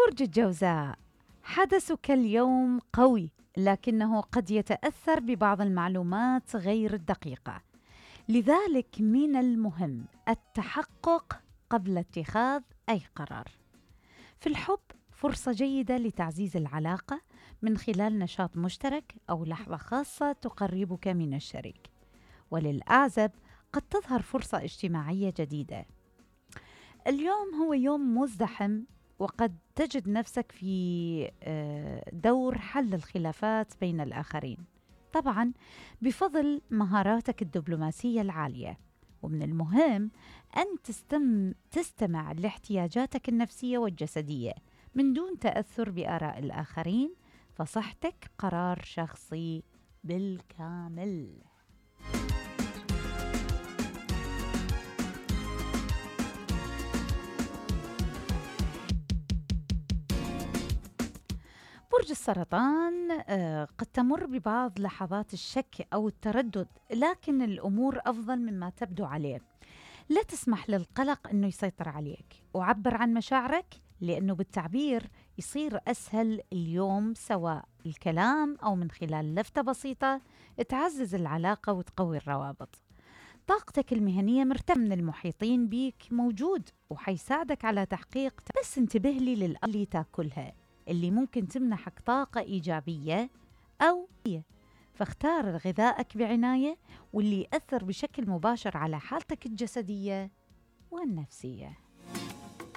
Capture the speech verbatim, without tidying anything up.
برج الجوزاء، حدثك اليوم قوي، لكنه قد يتأثر ببعض المعلومات غير الدقيقة، لذلك من المهم التحقق قبل اتخاذ أي قرار. في الحب، فرصة جيدة لتعزيز العلاقة من خلال نشاط مشترك أو لحظة خاصة تقربك من الشريك. وللأعزب، قد تظهر فرصة اجتماعية جديدة. اليوم هو يوم مزدحم، وقد تجد نفسك في دور حل الخلافات بين الآخرين، طبعاً بفضل مهاراتك الدبلوماسية العالية. ومن المهم أن تستم تستمع لاحتياجاتك النفسية والجسدية من دون تأثر بآراء الآخرين، فصحتك قرار شخصي بالكامل. برج السرطان، قد تمر ببعض لحظات الشك أو التردد، لكن الأمور أفضل مما تبدو عليه. لا تسمح للقلق أنه يسيطر عليك، وعبر عن مشاعرك، لأنه بالتعبير يصير أسهل اليوم، سواء الكلام أو من خلال لفتة بسيطة تعزز العلاقة وتقوي الروابط. طاقتك المهنية مرتفعة، من المحيطين بيك موجود وحيساعدك على تحقيق، بس انتبه لي للأكل اللي تاكلها اللي ممكن تمنحك طاقة إيجابية أو فاختار غذائك بعناية، واللي يأثر بشكل مباشر على حالتك الجسدية والنفسية.